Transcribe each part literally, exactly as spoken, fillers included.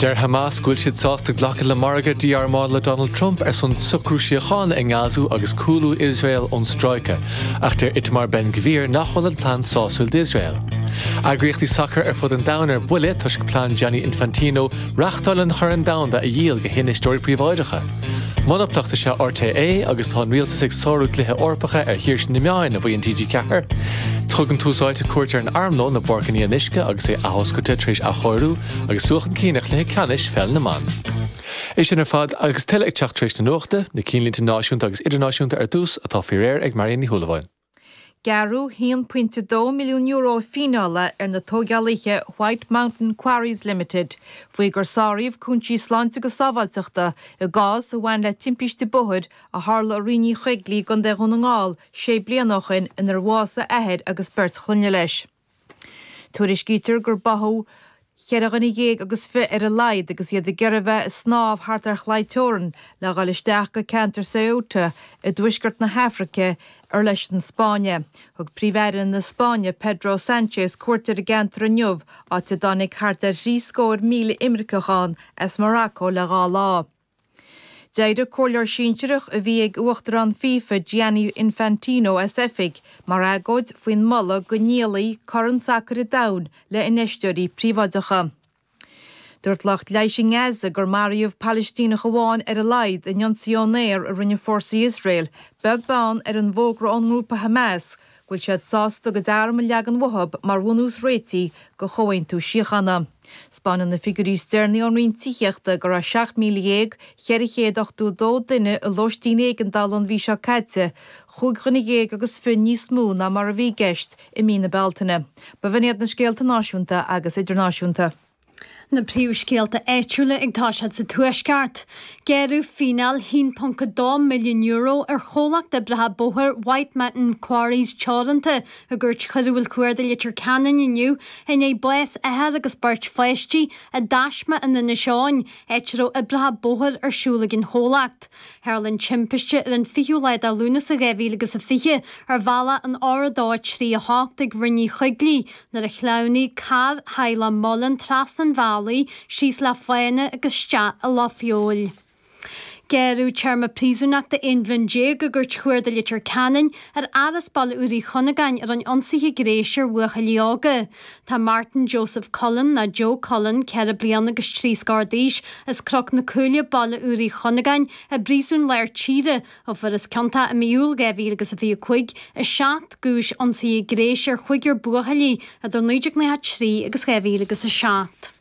Deir Hamas go bhfuil siad sásta glacadh le margadh dí-armála le Donald Trump ar son socrú síochána i nGaza agus cúlú Iosrael ón stráice, ach deir Itamar Ben Gvir nach bhfuil an plean sásúil d'Iosrael. Eagraíochtaí sacair ar fud an domhain ar buile toisc plean Gianni Infantino reáchtáil an Chorn Domhanda a dhíol go hinfheisteoirí príobháideacha. Monaplacht is ea RTÉ agus tá an rialtas ag sárú dlíthe Eorpacha ar shaoirse na meán a mhaíonn TG Ceathair. Tugann Tús Áite cuairt ar an armlón i bPáirc an Fhionnuisce agus é athoscailte tar éis athchóiriú agus suas chun cinn ar chluiche ceannais pheil na mban. É sin ar fad agus tuilleadh ag teacht tar éis na nuachta, na cinnlínte náisiúnta agus idirnáisiúnta ar dtús atá faoi réir ag Marion Ní Shúilleabháin. Gearradh haon pointe dó milliún euro fíneála ar na tógálaithe White Mountain Quarries Limited, faoi gur sáraíodh cúinsí sláinte agus sábháilteachta i gcás a bhain le timpiste bóthair a tharla i Rinn Uí Choigligh i gContae Dhún na nGall sé bliana ó shin inar bhásaigh athair agus beirt chlainne leis. Tuairiscítear gur báthadh Cheithre dhuine dhéag agus fiche ar a laghad agus iad ag iarraidh bheith ag snámh thart ar chlaí teorann le dhul isteach go ceantar Ceuta i dtuaisceart na hAfraice ar leis an Spáinn. Thug Príomh-Aire na Spáinne Pedro Sanchez cuairt ar an gceantar inniu áit a dtáinig thart ar thrí scór míle imirceach ann as Morocco le dhá lá. D'éirigh comhairleoir sinsearach a bhí ag Uachtarán FIFA Gianni Infantino as oifig mar agóid faoin moladh go ndíolfaí Corn Sacair an Domhain le infheisteoirí príobháideacha. Dúirt lucht leighis i nGaza gur maraíodh Palaistíneach amháin ar a laghad in ionsaí ón aer a rinne fórsaí Iosrael, beag beann ar an bhfógra ón ngrúpa Hamas go bhfuil siad sásta a gcuid arm a leagan uathu mar bhunús réitigh do chomhaontú síochána. 'Spáineann na figiúirí is deireanaí ón Roinn Tithíochta go raibh seacht míle dhéag cheithre chéad ochtó dó duine i lóistín éigeandála an mhí seo caite, chúig dhuine dhéag agus fiche níos mó ná mar a bhí i gceist i mí na Bealtaine. B'in iad na scéalta náisiúnta agus idirnáisiúnta. Na príomhscéalta áitiúla ag toiseacht sa Tuaisceart. Gearradh fíneáil haon ponc a dó milliún euro ar chomhlacht oibreacha bóthair White Mountain Quarries Teoranta i gCúirt Choiriúil Chuarda Leitir Ceanainn inniu i ndiaidh bás athar agus beirt pháistí i dtaisme in Inis Eoghain, áit a raibh oibreacha bóthair ar siúl ag an chomhlacht. Tharla an timpiste ar an fichiú lá de Lúnasa dhá mhíle agus a fiche ar bhealach an R a dó a trí a hocht ag Rinn Uí Choigligh nuair a shleamhnaigh carr theaghlach Mullen trasna an bhealaigh síos le fána agus isteach i loch feoil. Gearradh téarma príosúnachta aon bhliain déag i gCúirt Chuarda Leitir Ceanainn ar fhear as Baile Úr Uí Chunagáin a rinne ionsaithe gnéis ar bhuachaillí óga. Tá Martin Joseph Cullen, nó Joe Cullen, ceithre bliana agus trí scór d'aois, as Cnoc na Cúile, Baile Úr Uí Chunagáin, i bPríosún Lár Tíre, ó fuarthas ciontach i mí Iúil dhá mhíle agus a fiche a cúig i seacht gcúis ionsaithe gnéis ar chúigear buachaillí idir naoi déag nócha a trí agus dhá mhíle agus a seacht.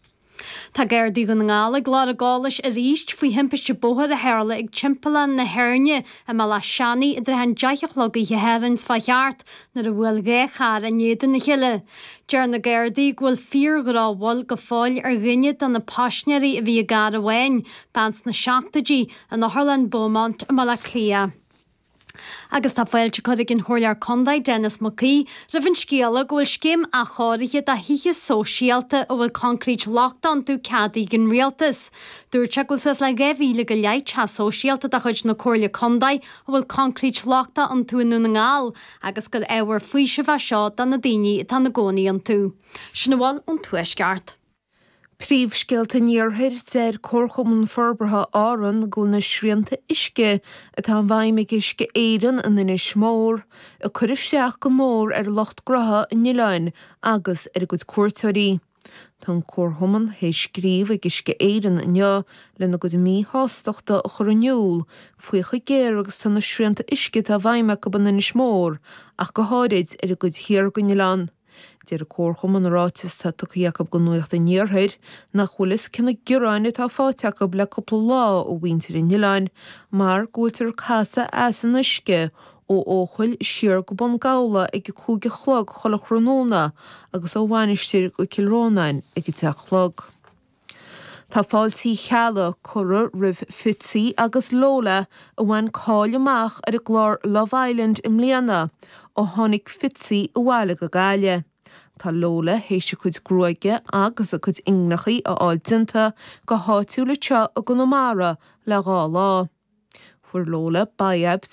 Tá Gardaí Dhún na nGall ag lorg eolais arís faoi thimpiste bóthair a tharla ag Timpeallán na hÉirne i mBealach Seanaidh i dtrátha an deich a chlog oíche Shathairn seo thart nuair a bhuail dhá charr in éadan a chéile. Deir na Gardaí go bhfuil fíor-dhrochbhail go fóill ar dhuine de na paisinéirí a bhí i gcarr amháin, bean sna seachtóidí, in Otharlann Beaumont i mBaile Átha Cliath. Agus tá fáilte curtha ag an Chomhairleoir Contae Denis Mac Aoidh roimh an scéala go bhfuil scéim athchóirithe do thithe sóisialta a bhfuil coincréit lochtach iontu ceadaithe ag an Rialtas. Dúirt sé go bhfuil suas le dhá mhíle go leith teach sóisialta de chuid na Comhairle Contae a bhfuil coincréit lochtach iontu i nDún na nGall agus gur ábhar faoisimh é seo do na daoine atá ina gcónaí iontu. Sin a bhfuil ón Tuaisceart. Príomhscéalta an Iarthair, Deir Comharchumann Forbartha Árann go bhfuil na srianta uisce atá i bhfeidhm ag Uisce Éireann in Inis Mór ag cur isteach go mór ar lucht gnótha an oileáin agus ar a gcuid cuairteoirí. Tá an Comharchumann théis scríobh ag Uisce Éireann inniu lena gcuid míshástachta a chur in iúl faoi chomh géar agus tá na srianta uisce atá i bhfeidhm acu in Inis Mór ach go háirid ar an gcuid thiar den oileán. Deir an Comharchumann i ráiteas atá tugtha acu do Nuacht an Iarthair nach bhfuil fhios cé na gearáin atá faighte acu le cúpla lá ó mhuintir an oileáin mar go bhfuiltear ag casadh eas an uisce ó Eochaill siar go Bun Gabhla ag a cúig a chlog chuile thráthnóna agus ó Mhainistir go Cill Rónáin ag a deich a chlog. Tá fáilte Uí Cheallaigh curtha roimh Fitzy agus Lola a bhain cáil amach ar an gclár Love Island i mbliana ó tháinig Fitzy abhaile go Gaillimh. Tá Lola théis a cuid gruaige agus a cuid inghneachaí a fháil déanta go háitiúil anseo i gConamara le dhá lá. Fuair Lola bob de